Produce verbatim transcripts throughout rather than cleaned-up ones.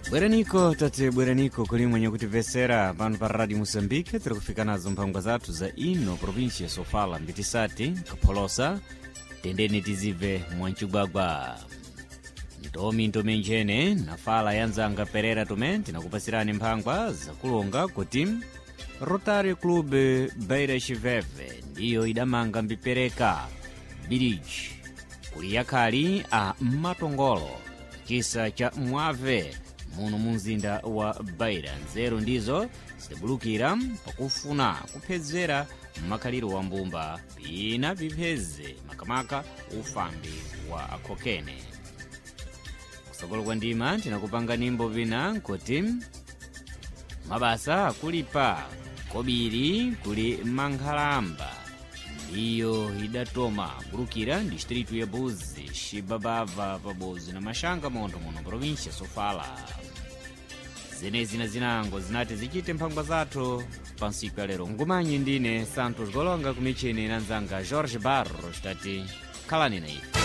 Bweraniko tate bweraniko kuli mwenye kutimvesera pano pa Radio Moçambique. Tiri kufika nazo mphangwa zathu za ino província ya Sofala, mbitisati kapholosa tendeni tizibve mwancigwagwa ntomi ntomi nchene nafala yanzanga Perera tume tinakupasirani mphangwa zakulonga kuti Rotary Club Beira Chiveve ndiyo idamanga mbipereka bridge kuli yakhali a matongolo chisa cha Mwave muno mu mzinda wa Beira. Nzeru ndizo zidabulukira pakufuna kuphedzera makhaliro wa mbumba pina pipheze makamaka ufambi wa akhokene. Kusokolo kwa ndima tinakupanga nimbo pina nkuti mabasa akulipa kobiri kuli mankhalamba ndiyo idatoma bulukira distritu ya Buzi xibabava pabozi na maxanga montho muno província Sofala. Zenezi na zinango zinati zichite mphangwa zathu pa ntsiku ya lero. Ngumanyi ndine Santos Golonga kumichini na nzanga Jorge Barros tati khalani na ife.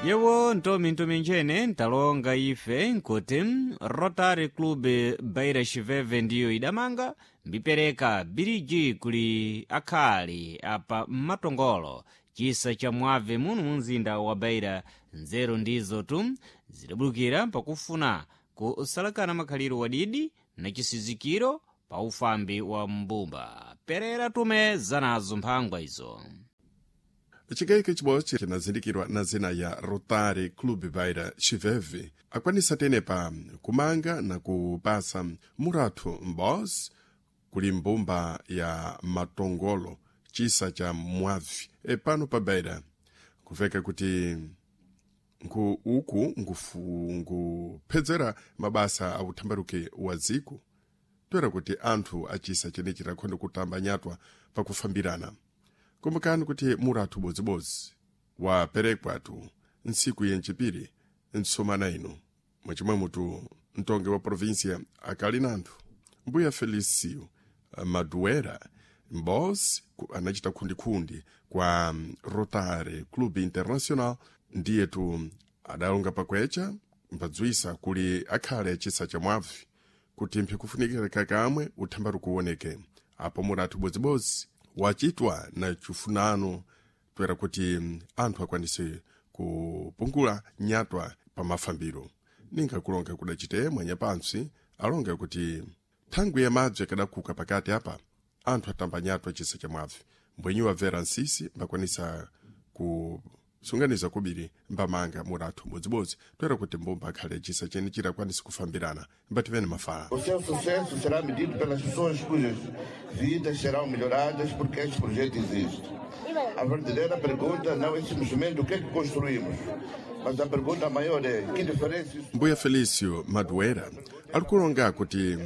Yewo ntomi ntomi nchene ntalonga ife nkuti Rotary Club Beira Chiveve ndiyo idamanga mbipereka biriji kuli akhali apa matongolo chisa cha Mwave muno mu mzinda wa Beira. Nzeru ndizo tu zidabulukira pakufuna kusalakana makhaliro wadidi na chisizikiro pa ufambi wa mbumba. Perera tume zanazo mphangwa izo. Chikayiko chibodzi chinazindikirwa na zina ya Rotary Club Beira Chiveve akwanisa tenepa kumanga na kupasa murathu m'bozi kuli mbumba ya matongolo chisa cha Mwavi e pano pa Beira. Kuveka kuti nku uku ngufu nguphedzera mabasa a uthambaruke wa dziko toera kuti anthu achisa chenechi takhonda kutamba nyatwa pakufambirana. Kumbukani kuti murathu bodzibodzi waperekwatu ntsiku yencipiri ntsomana ino mwachimwe mutu mtongi wa província akali nanthu mbuya Felicio Maduera mbos anachita khundikhundi kwa Rotary Club International ndiyetu adalonga pakwecha mbadzwisa kuli akhale achisa cha Mwavi kuti mphi kufunikira kakamwe uthambaru kuwoneke apo murathu bodzibodzi wachitwa na chifunano toera kuti anthu akwanise kupungula nyatwa pa mafambiro. Ninga kulonga kudachite mwanyapansi alonga kuti thangwi ya madzi akadakhuka pakati apa anthu atamba nyatwa chisa cha Mwavi mbwenyi wabvera nsisi mbakwanisa kusunganiza kubiri mbamanga murathu mbodzibodzi toera kuti mbumba akhale chisa chene chirakwanisa kufambirana mbativene mafala. O seu sucesso será medido pelas pessoas cujas vidas serão melhoradas porque este projeto existe. A verdadeira pergunta não é simplesmente o que é que construímos, mas a pergunta maior é que diferença isso Mbuya Felicio Maduera ali kulonga kuti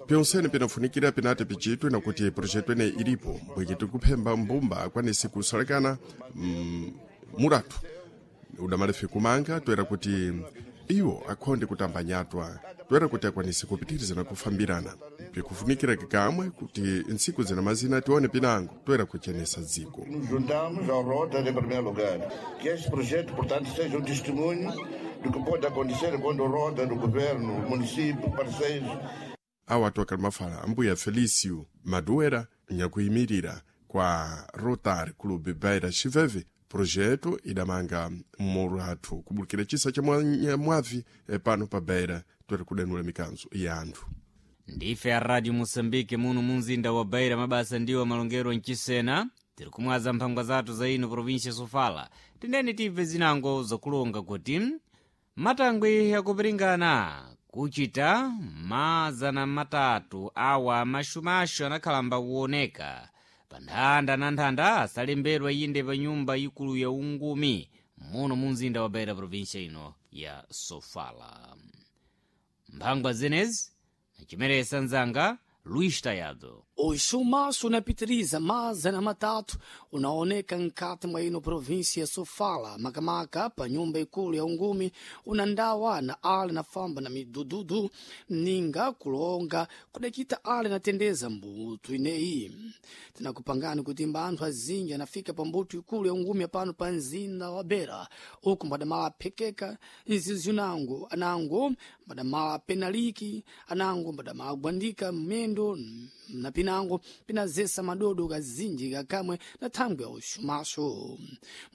pyonsene pinafunikira pinati pichitwe na kuti projeto ene ilipo bwiki tikuphemba mbumba akwanise kusalekana mm, murathu udamalefe kumanga toera kuti iwo akhonde kutamba nyatwa toera kuti akwanise kupitiriza na kufambirana pikufunikira kikamwe kuti ntsiku zina mazina tione pinango toera kuchenesa dziko. Nos juntamos ao Rotary em primeiro lugar. Que este projeto, portanto, seja um testemunho do que pode acontecer quando o Rotary, o governo, o município, parceiros Awa atu akali mafala ambuya Felicio Maduera nyakuyimirira kwa Rotary Club Beira Chiveve projeto idamanga murathu kubulukira chisa cha mwa- Mwavi eh, pano pa Beira toera kudanula mikanzo ya anthu. Ndife a Radio Moçambique muno mu mzinda wa Beira. Mabasa ndiwo malongero mchisena tiri kumwaza mphangwa zathu za ino província Sofala. Tendeni tibve zinango zakulonga kuti matangwi akupiringana kuchita mazana matatu awa maxumaxu anakhalamba kuoneka pa nthanda na nthanda asalembedwa inde pa nyumba ikulu ya ungumi muno mu mzinda wa Beira província ino ya Sofala. Mphangwa zenezi nachimeresa nzanga Luís Taiado. O chumaço unapitiriza mazana matatu unaoneka nkati mwa ino provinsia ya Sofala, makamaka pa nyumba ikulu ya ungumi unandawa na ale na famba na midududu ninga kulonga kudakita ale natendeza mbutu ineyi. Tinakupangani kuti mba anthu azinji anafika pa mbuto ikulu ya ungumi pano pa mzinda wa Beira, uku mbadamala aphekeka nzizi anango anango mbadamala penaliki anango mbadamala agwandika mmendo na pinango pinazesa madodo kazinji kakamwe na thangwi ya uxumaxo.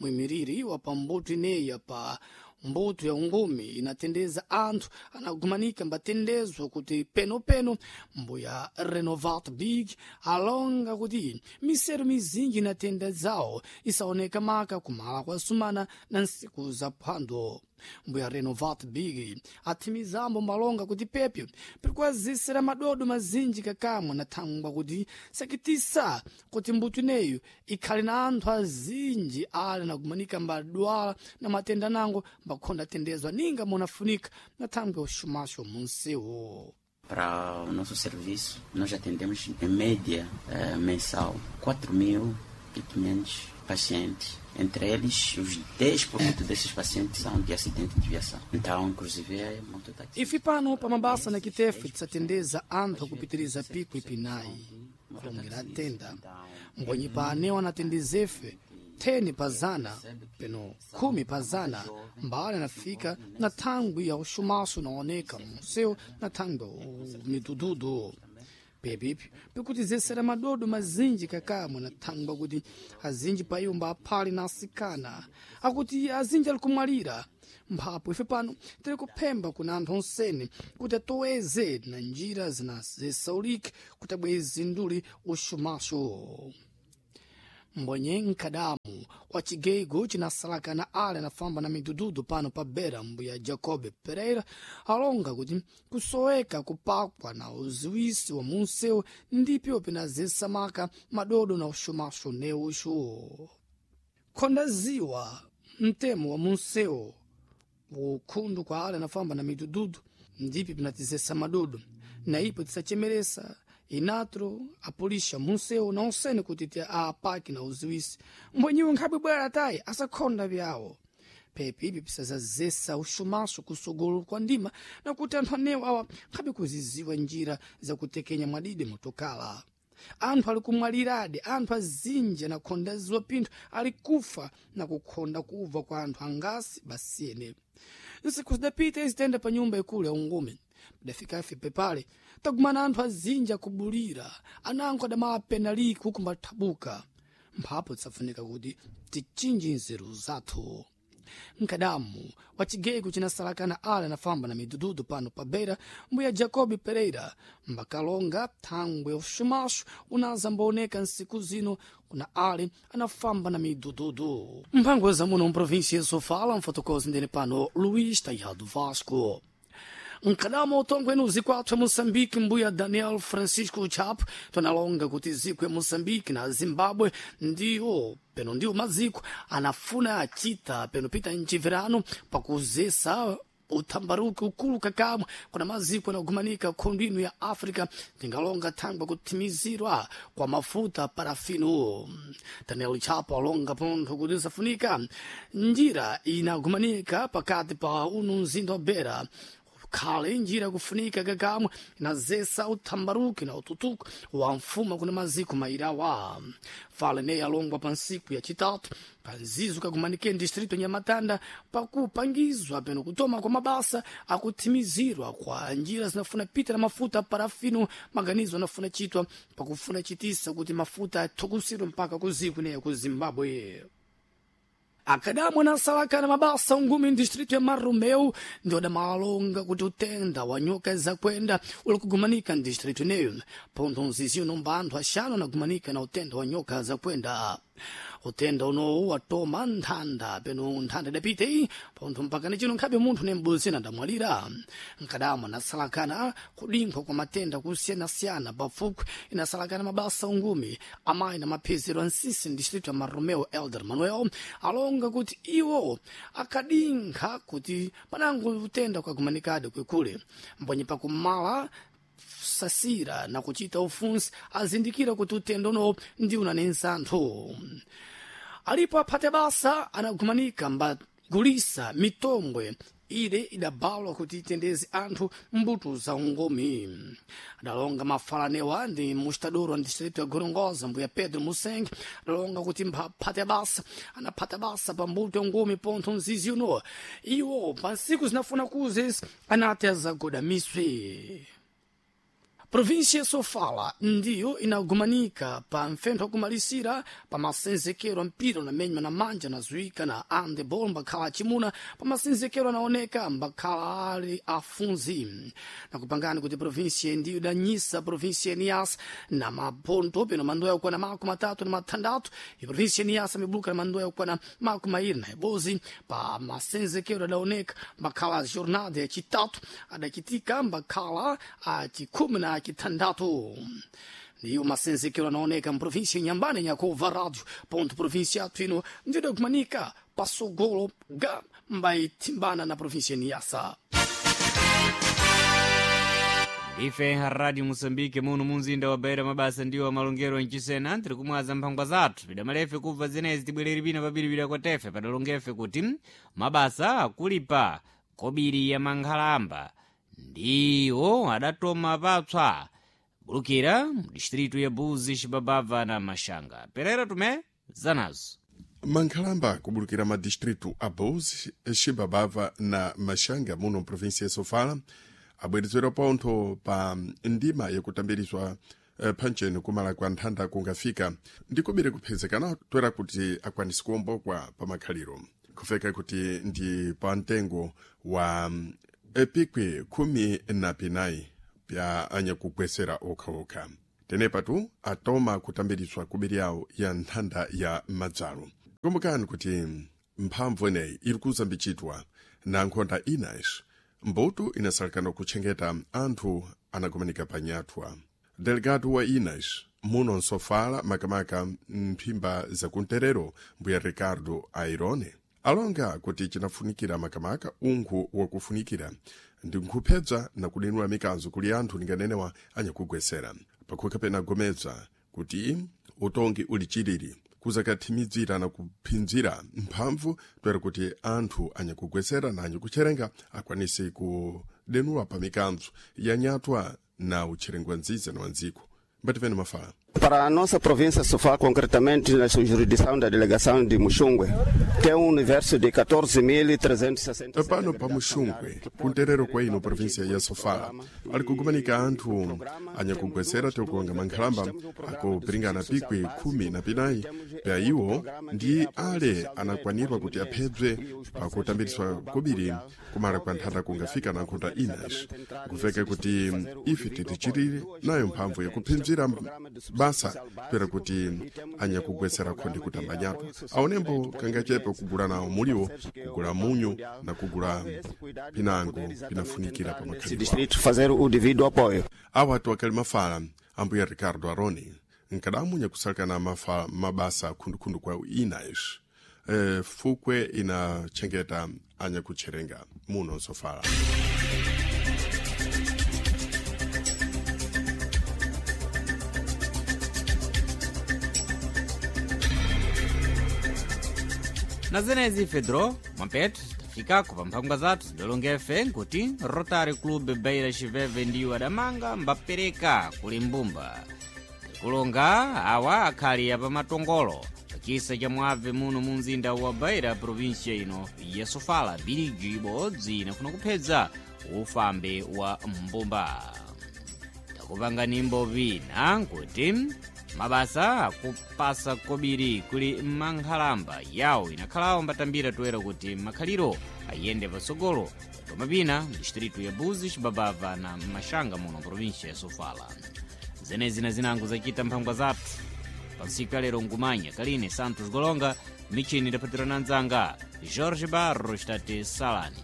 Muimiriri wa pambuto ineyi pa mbuto ya ungumi inatendeza anthu anagumanika mbatendezwa kuti penopeno mbuya Renovat Big alonga kuti misero mizinji inatendedzawo isaoneka maka kumala kwa sumana na nsiku za phwando. Mbuya Renovat Big athimizambo malonga kuti pepyo pirikwazisira madodo mazinji kakamwe na thangwa kuti sakitisa kuti mbuto ineyo ikhale na anthu azinji ali nagumanika mbadwala na matenda nango mbakhonda atendezwa ninga munafunika na thangwe uxumaxo munsewo. Para o nosso serviço, nós atendemos em média eh, mensal quatro mil e quinhentos pacientes. Entre eles, os dez por cento desses pacientes são de acidente de viação. Então, inclusive, é mototáxi. Ife pano pa mabasa na Kitefe tisatendeza anthu akupitiriza pico ipinayi kulongera tenda mbwenyi pa anewo anatendezefe theni pa zana peno khumi pa zana mbali anafika na thangwi ya uxumaxo naoneka munsewu na thangwi ya midududu. Pepipi pikutizesera madodo mazinji kakamwe na thangwa kuti azinji pa iwo mbaphali na asikana akuti azinji ali kumwalira. Mphapo ife pano tiri kuphemba kuna anthu onsene kuti atoweze na njira zinazesaulike kuti abweze nduli uxumaxo. Mbwenye nkadamu wa chigeigo chinasalakana ale anafamba na midududu pano pa Beira, mbuya Jacob Pereira alonga kuti kusoweka kupakwa na uziwisi wa munsewu ndipyo pinazesamaka madodo na uxumaxo neuxo. Khonda ziwa mtemo wa munsewu ukhundu kwa ale anafamba na midududu ndipyo pinatizesa madodo na ipo tisachemeresa inatro apulisha munsewu na onsene kuti ti apaki na uziwisi mbwenyiwo nkhabwe bwera tayi asakhonda vyawo. Pepi ipi pisazazesa uxumaxo kusogolo kwa ndima na kuti anthu anewo awa nkhabe kuziziwa njira zakutekenya mwadide motokala. Anthu ali kumwaliradi, anthu azinji anakhonda ziwa pinthu ali kufa na kukhonda kubva kwa anthu angasi basiyene. Nsiku zidapita izitenda pa nyumba ikulu ya ungumi padafika ife pepale tagumana anthu azinji akubulira anango adamala penaliki huku mbathabuka. Mphapo tisafunika kuti tichinje nzeru zathu. Nkadamu wa chigeko chinasalakana ale anafamba na midududu pano pa Beira, mbuya Jacob Pereira mbakalonga thangwe uxumaxo unazambaoneka nsiku zino kuna ale anafamba na midududu. Mphango zamuno mprovinsia ya Sofala, mfotokozi ndene pano Luís Taiado Vasco. Nkadama utongwe nuzi kwathu ya Moçambique, mbuya Daniel Francisco Chapo tonalonga kuti ziko ya Moçambique na Zimbabwe ndiwo peno ndiwo maziko anafuna achita peno pita mchiverano pakuzesa uthambaruki ukulu kakamwe kuna maziko anagumanika khundu ino ya África tingalonga thangwa kuthimizirwa kwa mafuta parafino. Daniel Chapo alonga pontho kuti safunika njira inagumanika pakati pa uno mzinda wa Beira khale njira kufunika kakamwe inazesa uthambaruki na ututuku wa mfuma kuna maziko mairawa. Fale neyi alongwa pa nsiku ya chitatu panzizo kagumanike distrito Nhamatanda pakupangizwa peno kutoma kwa mabasa akuthimizirwa kwa njira zinafuna pita na mafuta parafino maganizo anafuna chitwa pakufuna chitisa kuti mafuta athukusirwe mpaka kuziku neya ku Zimbabwe. Akadamu anasalakana mabasa ungumi distrito ya Marromeu ndio adamalonga kuti utenda wa nyoka zakwenda uli kugumanika distrito ineyo. Pontho nziziyo nomba anthu axanu anagumanika na utenda wa nyoka zakwenda. Utenda unowu watoma nthanda peno nthanda idapita iyi pontho mpaka ni chino nkhabe munthu nembuzi ndamwalira. Nkadamu anasalakana kudinkhwa kwa matenda kusiyanasiyana pafupi inasalakana mabasa ungumi amayi na maphezero ansisi distrito ya Marromeu Elder Manuel alonga kuti iwo akadinkha kuti panango utenda ukagumanikadi kwekule mbonye pakumala kusasira na kuchita ufunsi azindikira kuti utendo uno ndi unanensa anthu. Alipo aphate basa anagumanika mbagulisa mitombwe ile idabalwa kuti itendeze anthu mbuto za ungomi. Adalonga mafalanewa ndi mustadoro wa distrito ya Gorongosa, mbuya Pedro Museng, adalonga kuti mphate basa anaphata basa pa mbuto ya ungomi pontho mzizi uno iwo pa ntsiku zinafuna kuzezi anati azagoda miswe. Província Sofala ndiyo inagumanika pa mfentho wakumalisira pa masenzekero a mpira unamenywa na manja nazuika na handebol mbakhala acimuna pa masenzekero anaoneka mbakhala ali afunzi. Nakupangani kuti província ndiyo idanyisa província Niassa na maponto peno mandoya kukwana makumi atatu na mathandatu. I província Niassa mibuluka na mandoya kukwana makumi mairi na ibozi pa masenzekero adaoneka mbakhala jornada yacitatu adacitika mbakhala acikhumi na kitandatu. Ndiyo masenzekero anaoneka mprovinsia Nyambane nyakova radio ponto província yathu ino ndiyo kumanika pasogolo ga mbaitimbana na província Niassa. Ife Radio Moçambique muno munzinda wa Beira mabasa ndiwo amalongero mchisena tiri kumwaza mphangwa zathu pidamalefe kubva zenezi tibwereri pina papiripira kwa tefe padalongefe kuti mabasa akulipa kobiri ya mankhalamba ndiwo adatoma papswa bulukira mu distritu ya Buzi, Xibabava na Maxanga. Perera tume zanazo. Mankhalamba kubulukira madistritu a Buzi, Xibabava na Maxanga muno mprovinsia ya Sofala abwerezera pontho pa ndima yakutambirizwa eh, phancheni kumala kwa nthanda kungafika ndikubiri kuphezekana toera kuti akwanise kuwombokwa pa makhaliro kufeka kuti ndi pa mtengo wa epikwi khumi na pinayi pya anyakugwesera okhaokha. Tenepatu atoma kutambirizwa kubiri yawo ya nthanda ya madzalo. Kumbukani kuti mphamvu ineyi iri kuzambichitwa na nkhonda inayi mbuto inasalekana kutchengeta anthu anakumanika panyathwa. Delegado wa Inas muno nsofala makamaka mphimba zakunterero mbuya Ricardo Airone alonga kuti chinafunikira makamaka unkhu wakufunikira ndi nkhupedza na kudenula mikanzo kuli anthu ninganenewa anyakugwesera pakhoka pena gomedza kuti utongi uli chilili kuzakathimidzira na kuphinzira mphamvu toera kuti anthu anyakugwesera na anyakutcherenga akwanise kudenula pa mikanzo yanyatwa na utcherengwa nziza na wandziko. Mbativene mafala. Para a nossa província Sofala, concretamente na sua jurisdição da delegação de Muxungue, tem um universo de catorze mil trezentos e sessenta e sete. Pano pa Muxungue, kunterero kwa ino província ya Sofala, ali kugumanika anthu anyakugwesera tikuonga mankhalamba akupiringana pikwi khumi na pinayi pya iwo ndi ale anakwanirwa kuti aphedzwe pakutambiriswa kobiri kumala kwa nthanda kungafika na nkhunda inas kuveka kuti ife titichirire nayo mphamvu yakuphinzira basa toera kuti anyakugwesera khondi kutambanyatwa aonembo kangachepe kugula nawo muliwo kugula munyu na kugula pinango pinafunikira pa makhalidwe Distrito fazer o devido apoio. Awa atu akali mafala ambuya Ricardo Aroni nkadamu nyakusalekana mafa mabasa khundukhundu kwa inas e, fukwe inachengeta anyakutcherenga muno nsofala. Na zenezi Fedro Mwampetu tafikako pa mphangwa zathu zidalongefe nkuti Rotary Club Beira Xiveve ndiwo adamanga mbapereka kuli mbumba tikulonga awa akhali apamatongolo pachisa cha mwabve muno mu mzinda wa Beira província ino ya Sofala biliji ibodzi inafuna kuphedza ufambe wa mbumba. Takupanga nimbo vina nkuti mabasa akupasa kobiri kuli mankhalamba yawo inakhalawo mbatambira toera kuti makhaliro ayende patsogolo koma pina mdistritu ya Buzi, Xibabava na Maxanga muno província ya Sofala. Zenezi na zinango zachita mphangwa zathu pansiku ya lero ngumanya Kaline Santos Golonga michini idaphatirana mdzanga Jorge Barros tate Salani.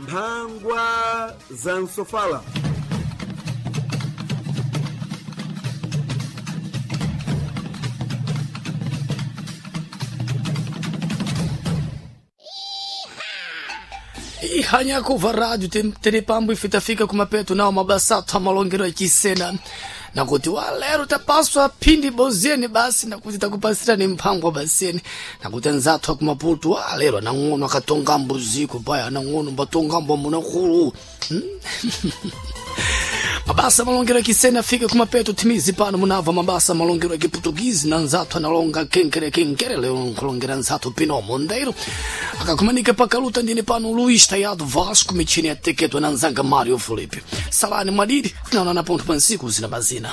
Mphangwa za Nsofala. Ihanya kuva rádio terepambo ifitafika kumapeto nao mabasato amalongero achisena nakuti walero tapaswa phindi bozeni basi nakuti takupasira ni mphango baseni nakuti anzathu akumaputu walero anang'ono akatongambo ziko paya anang'ono mbatongambo munakulu hmm? Mabasa malongero akisena afike kumapeto timizi pano munava mabasa malongero akiputukizi na nzathu analonga kenkere kenkere leo nkulongera nzathu pino mondeiro akakumanika pakaluta ndine pano Luís Taiado Vasco michini ateketwa na nzanga Mário Felipe salani mwadidi tinaonana pontho pansiku zina mazina.